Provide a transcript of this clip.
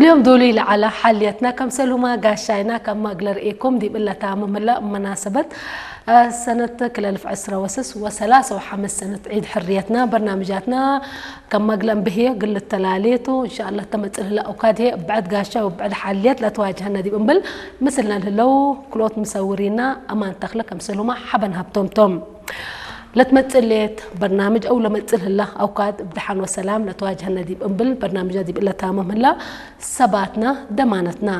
ዮም ዶሉ ለዓላ ሓልየትና ከም ሰሉማ ጋሻይና ካብ ማግለር ኤኮም ዲብ እለታ መምህላ መናሰበት ሰነት ክለልፍ ዕስራ ወሰስ ወሰላሳ ወሓምስ ሰነት ዒድ ሕርየትና በርናምጃትና ከም ማግለን ብህየ ግል ተላሌቱ እንሻላ ተመጽልህላ ኦካድሄ ብዕድ ጋሻ ብዕድ ሓልየት ለተዋጅሀና ዲብ እምብል ምስልና ልህለው ክሎት ምሰውሪና ኣማን ተኽለ ከም ሰሉማ ሓበን ሃብቶምቶም ለትመጽሌት በርናምጅ ኣው ለመጽልህላ ኣውካድ ብድሓን ወሰላም ለተዋጅሀና ዲብ እምብል በርናምጃ ዲብ እለታ መምህላ ሰባትና ደማነትና